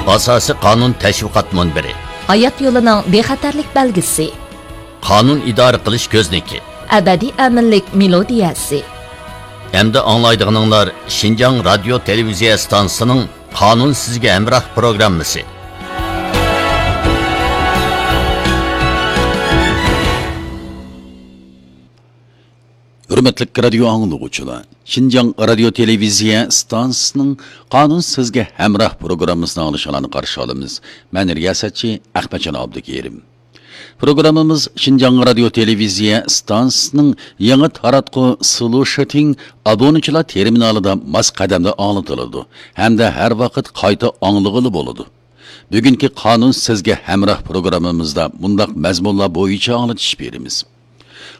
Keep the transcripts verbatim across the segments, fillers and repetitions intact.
ئاساسىي قانۇن تەشۋىقات مۇنبىرى. ھايات يولىنىڭ بىخەتەرلىك بەلگىسى. قانۇن ئىدارە قىلىش كۆزنىكى. ئەبەدىي ئەمىنلىك مېلودىيەسى. ئەمدى ئاڭلايدىغىنىڭلار شىنجاڭ رادىيو تېلېۋىزىيە ئىستانسىسىنىڭ قانۇن سىزگە ھەمراھ پروگراممىسى. ھۆرمەتلىك رادىيو ئاڭلىغۇچىلار، شىنجاڭ رادىيو تېلېۋىزىيە ئىستانسىسىنىڭ قانۇن سىزگە ھەمراھ پروگراممىسىنى ئاڭلىشىڭلارنى قارشى ئالىمىز. مەن رىياسەتچى ئەخمەتجان ئابدۇكېرىم. پروگراممىمىز شىنجاڭ رادىيو تېلېۋىزىيە ئىستانسىسىنىڭ يېڭى تاراتقۇ سلۇشىتىڭ ئابۇنىچىلار تېرمىنالىدا ماس قەدەمدە ئاڭلىتىلىدۇ ھەمدە ھەر ۋاقىت قايتا ئاڭلىغىلى بولىدۇ. بۈگۈنكى قانۇن سىزگە ھەمراھ پروگراممىمىزدا مۇنداق مەزمۇنلار بويىچە ئاڭلىتىش بېرىمىز.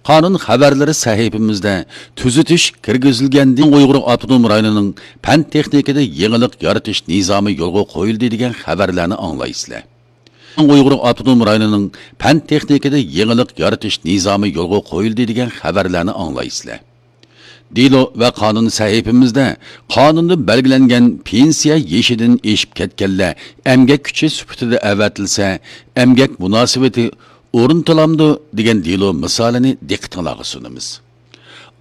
قانۇن خەۋەرلىرى سەھىپىمىزدە تۈزىتىش كىرگۈزۈلگەندىن ئۇيغۇر ئاپتونوم رايونىنىڭ پەن تېخنىكىدا يېڭىلىق يارىتىش نىزامى يولغا قويۇلدى دېگەن خەۋەرلەرنى ئاڭلايسىلەر. ئۇيغۇر ئاپتونوم رايونىنىڭ پەن تېخنىكىدا يېڭىلىق يارىتىش نىزامى يولغا قويۇلدى دېگەن خەۋەرلەرنى ئاڭلايسىلەر. دېلو ۋە قانۇن سەھىپىمىزدە قانۇندا بەلگىلەنگەن پېنسىيە يېشىدىن ئېشىپ كەتكەنلەر ئەمگەك كۈچى سۈپىتىدە ئەۋەتىلسە، ئەمگەك مۇناسىۋىتى ئورنىتىلامدۇ دېگەن دېلو مىسالىنى دىققىتىڭلارغا سۇنىمىز.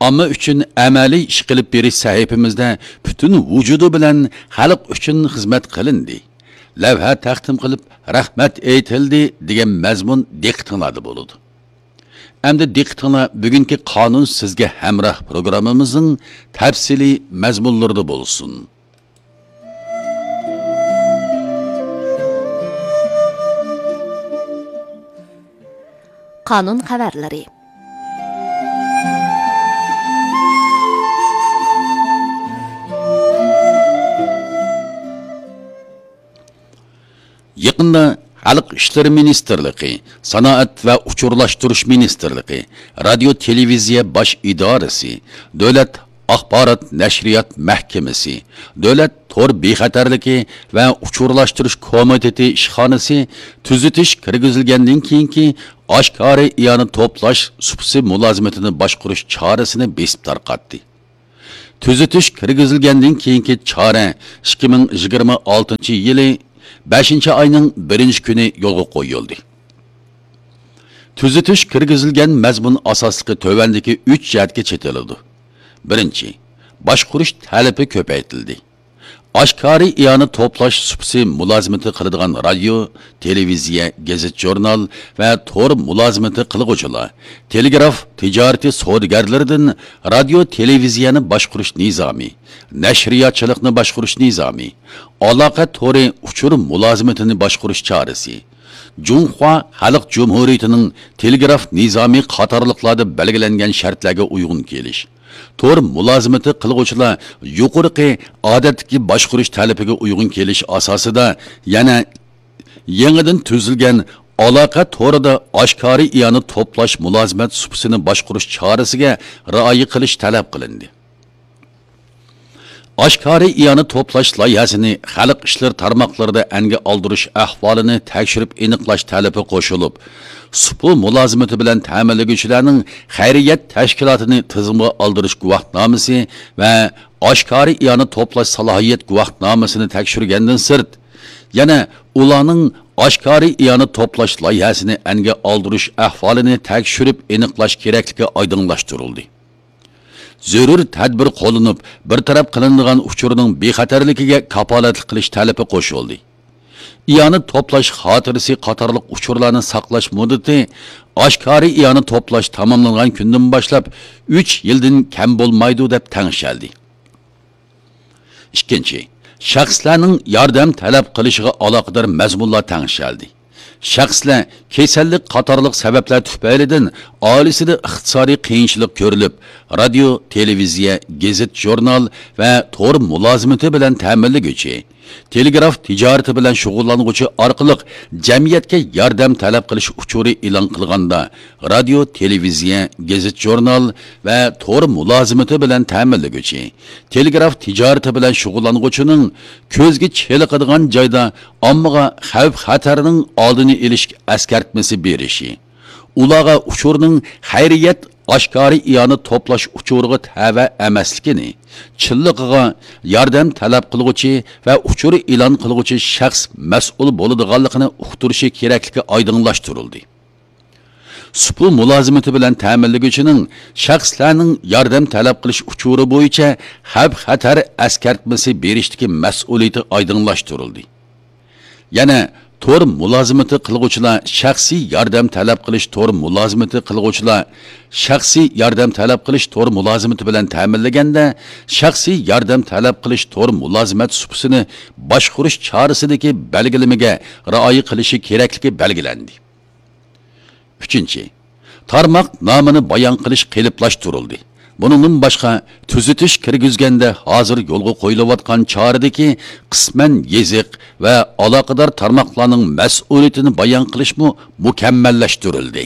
ئامما ئۈچۈن ئەمەلىي ئىش قىلىپ بېرىش سەھىپىمىزدە پۈتۈن ۋۇجۇدى بىلەن خەلق ئۈچۈن خىزمەت قىلىندى، لەۋھە تەقدىم قىلىپ رەھمەت ئېيتىلدى دېگەن مەزمۇن دىققىتىڭلاردا بولىدۇ. ئەمدى دىققىتىڭلار بۈگۈنكى قانۇن سىزگە ھەمراھ پروگراممىمىزنىڭ تەپسىلىي مەزمۇنلىرىدا بولسۇن. قانۇن خەۋەرلىرى. يېقىندا خەلق ئىشلىرى مىنىستىرلىقى، سانائەت ۋە ئۇچۇرلاشتۇرۇش مىنىستىرلىقى، رادىيو تېلېۋىزىيە باش ئىدارىسى، دۆلەت ئاخبارات نەشرىيات مەھكىمىسى، دۆلەت تور بىخەتەرلىكى ۋە ئۇچۇرلاشتۇرۇش كومىتېتى ئىشخانىسى تۈزىتىش كىرگۈزۈلگەندىن كېيىنكى ئاشكارا ئىئانە توپلاش سۇپىسى مۇلازىمىتىنى باشقۇرۇش چارىسىنى بېسىپ تارقاتتى. تۈزىتىش كىرگۈزۈلگەندىن كېيىنكى چارە ئىككى مىڭ يىگىرمە ئالتىنچى يىلى بەشىنچى ئاينىڭ بىرىنچى كۈنى يولغا قويۇلدى. تۈزىتىش كىرگۈزۈلگەن مەزمۇن ئاساسلىقى تۆۋەندىكى ئۈچ جەھەتكە چېتىلىدۇ. بىرىنچى، باشقۇرۇش تەلىپى كۆپەيتىلدى. ئاشكارا ئىئانە توپلاش سۇپىسى مۇلازىمىتى قىلىدىغان رادىيو، تېلېۋىزىيە، گېزىت-ژۇرنال ۋە تور مۇلازىمىتى قىلغۇچىلار تېلېگراف تىجارىتى سودىگەرلىرىدىن رادىيو، تېلېۋىزىيەنى باشقۇرۇش نىزامى، نەشرىياتچىلىقنى باشقۇرۇش نىزامى، ئالاقە تورى ئۇچۇر مۇلازىمىتىنى باشقۇرۇش چارىسى، جۇڭخۇا خەلق جۇمھۇرىيىتىنىڭ تېلېگراف نىزامى قاتارلىقلاردا بەلگىلەنگەن شەرتلەرگە ئۇيغۇن كېلىش، تور مۇلازىمىتى قىلغۇچىلار يۇقىرىقى ئادەتتىكى باشقۇرۇش تەلىپىگە ئۇيغۇن كېلىش ئاساسىدا يەنە يېڭىدىن تۈزۈلگەن ئالاقە تورىدا ئاشكارا ئىئانە توپلاش مۇلازىمەت سۇپىسىنى باشقۇرۇش چارىسىگە رىئايە قىلىش تەلەپ قىلىندى. ئاشكارا ئىئانە توپلاش لايىھەسىنى خەلق ئىشلىرى تارماقلىرىدا ئەنگە ئالدۇرۇش ئەھۋالىنى تەكشۈرۈپ ئېنىقلاش تەلىپى قوشۇلۇپ، سۇپا مۇلازىمىتى بىلەن تەمىنلىگۈچىلەرنىڭ خەيرىيەت تەشكىلاتىنى تىزىمغا ئالدۇرۇش گۇۋاھنامىسى ۋە ئاشكارا ئىئانە توپلاش سالاھىيەت گۇۋاھنامىسىنى تەكشۈرگەندىن سىرت، يەنە ئۇلارنىڭ ئاشكارا ئىئانە توپلاش لايىھەسىنى ئەنگە ئالدۇرۇش ئەھۋالىنى تەكشۈرۈپ ئېنىقلاش كېرەكلىكى ئايدىڭلاشتۇرۇلدى. زۆرۈر تەدبىر قوللىنىپ، بىر تەرەپ قىلىنىدىغان ئۇچۇرنىڭ بىخەتەرلىكىگە كاپالەتلىك قىلىش تەلىپى قوشۇلدى. ئىئانە توپلاش خاتىرىسى قاتارلىق ئۇچۇرلارنى ساقلاش مۇددىتى ئاشكارا ئىئانە توپلاش تاماملانغان كۈندىن باشلاپ ئۈچ يىلدىن كەم بولمايدۇ، دەپ تەڭشەلدى. ئىككىنچى، شەخسلەرنىڭ ياردەم تەلەپ قىلىشىغا ئالاقىدار مەزمۇنلار تەڭشەلدى. شەخسلەر كېسەللىك قاتارلىق سەۋەبلەر تۈپەيلىدىن ئائىلىسىدە ئىقتىسادىي قىيىنچىلىق كۆرۈلۈپ، رادىيو، تېلېۋىزىيە، گېزىت، ژۇرنال ۋە تور مۇلازىمىتى بىلەن تەمىنلىگۈچى، تېلېگراف تىجارىتى بىلەن شۇغۇللانغۇچى ئارقىلىق جەمئىيەتكە ياردەم تەلەپ قىلىش ئۇچۇرى ئېلان قىلغاندا، رادىيو، تېلېۋىزىيە، گېزىت، ژۇرنال ۋە تور مۇلازىمىتى بىلەن تەمىنلىگۈچى، تېلېگراف تىجارىتى بىلەن شۇغۇللانغۇچىنىڭ كۆزگە چېلىقىدىغان جايدا ئاممىغا خەۋپ-خەتەرنىڭ ئالدىنى ئېلىش ئەسكەرتمىسى بېرىشى، ئۇلارغا ئۇچۇرنىڭ خەيرىيەت ئاشكارا ئىئانە توپلاش ئۇچۇرىغا تەۋە ئەمەسلىكىنى، چىنلىقىغا ياردەم تەلەپ قىلغۇچى ۋە ئۇچۇر ئېلان قىلغۇچى شەخس مەسئۇل بولىدىغانلىقىنى ئۇقتۇرۇشى كېرەكلىكى ئايدىڭلاشتۇرۇلدى. سۇپا مۇلازىمىتى بىلەن تەمىنلىگۈچىنىڭ شەخسلەرنىڭ ياردەم تەلەپ قىلىش ئۇچۇرى بويىچە خەۋپ-خەتەر ئەسكەرتمىسى بېرىشتىكى مەسئۇلىيىتى ئايدىڭلاشتۇرۇلدى. يەنە تور مۇلازىمىتى قىلغۇچىلار شەخسىي ياردەم تەلەپ قىلىش تور مۇلازىمىتى قىلغۇچىلار شەخسىي ياردەم تەلەپ قىلىش تور مۇلازىمىتى بىلەن تەمىنلىگەندە، شەخسىي ياردەم تەلەپ قىلىش تور مۇلازىمەت سۇپىسىنى باشقۇرۇش چارىسىدىكى بەلگىلىمىگە رىئايە قىلىشى كېرەكلىكى بەلگىلەندى. ئۈچىنچى، تارماق نامىنى بايان قىلىش قېلىپلاشتۇرۇلدى. بۇنىڭدىن باشقا، تۈزىتىش كىرگۈزگەندە ھازىر يولغا قويۇلۇۋاتقان چارىدىكى قىسمەن يېزىق ۋە ئالاقىدار تارماقلارنىڭ مەسئۇلىيىتىنى بايان قىلىشمۇ مۇكەممەللەشتۈرۈلدى.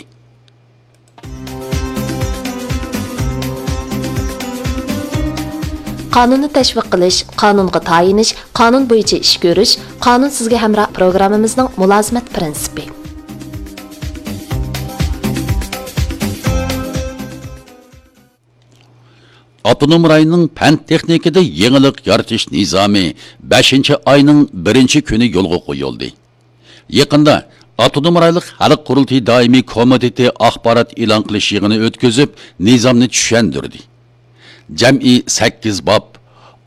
قانۇننى تەشۋىق قىلىش، قانۇنغا تايىنىش، قانۇن بويىچە ئىش كۆرۈش، قانۇن سىزگە ھەمراھ پروگراممىمىزنىڭ مۇلازىمەت پىرىنسىپى. ئاپتونوم رايوننىڭ پەن تېخنىكىدا يېڭىلىق يارىتىش نىزامى بەشىنچى ئاينىڭ بىرىنچى كۈنى يولغا قويۇلدى. يېقىندا ئاپتونوم رايونلۇق خەلق قۇرۇلتىيى دائىمىي كومىتېتى ئاخبارات ئېلان قىلىش يىغىنى ئۆتكۈزۈپ، نىزامنى چۈشەندۈردى. جەمئىي سەككىز باب،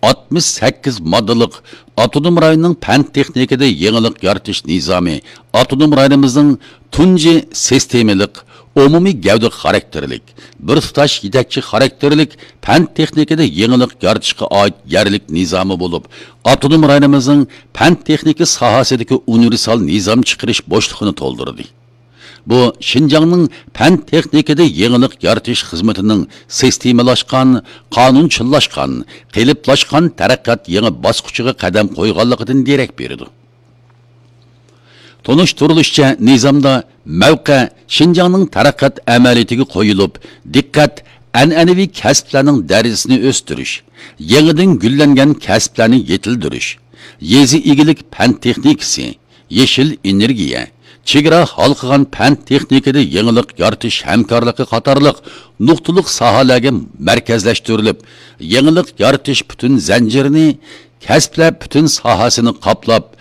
ئاتمىش سەككىز ماددىلىق ئاپتونوم رايوننىڭ پەن تېخنىكىدا يېڭىلىق يارىتىش نىزامى ئاپتونوم رايونىمىزنىڭ تۇنجى سىستېمىلىق، ئومۇمىي گەۋدە خاراكتېرلىك، بىر تۇتاش يېتەكچى خاراكتېرلىك پەن تېخنىكىدا يېڭىلىق يارىتىشقا ئائىت يەرلىك نىزامى بولۇپ، ئاپتونوم رايونىمىزنىڭ پەن تېخنىكا ساھەسىدىكى ئۇنىۋېرسال نىزام چىقىرىش بوشلۇقىنى تولدۇردى. بۇ شىنجاڭنىڭ پەن تېخنىكىدا يېڭىلىق يارىتىش خىزمىتىنىڭ سىستېمىلاشقان، قانۇنچىللاشقان، قېلىپلاشقان تەرەققىيات يېڭى باسقۇچىغا قەدەم قويغانلىقىدىن دېرەك بېرىدۇ. تونۇشتۇرۇلۇشىچە، نىزامدا مەۋقە شىنجاڭنىڭ تەرەققىيات ئەمەلىيىتىگە قويۇلۇپ، دىققەت ئەنئەنىۋى كەسىپلەرنىڭ دەرىجىسىنى ئۆستۈرۈش، يېڭىدىن گۈللەنگەن كەسىپلەرنى يېتىلدۈرۈش، يېزا ئىگىلىك پەن تېخنىكىسى، يېشىل ئېنېرگىيە، چېگرا ھالقىغان پەن تېخنىكىدا يېڭىلىق يارىتىش ھەمكارلىقى قاتارلىق نۇقتىلىق ساھەلەرگە مەركەزلەشتۈرۈلۈپ، يېڭىلىق يارىتىش پۈتۈن زەنجىرىنى، كەسىپلەر پۈتۈن ساھەسىنى قاپلاپ،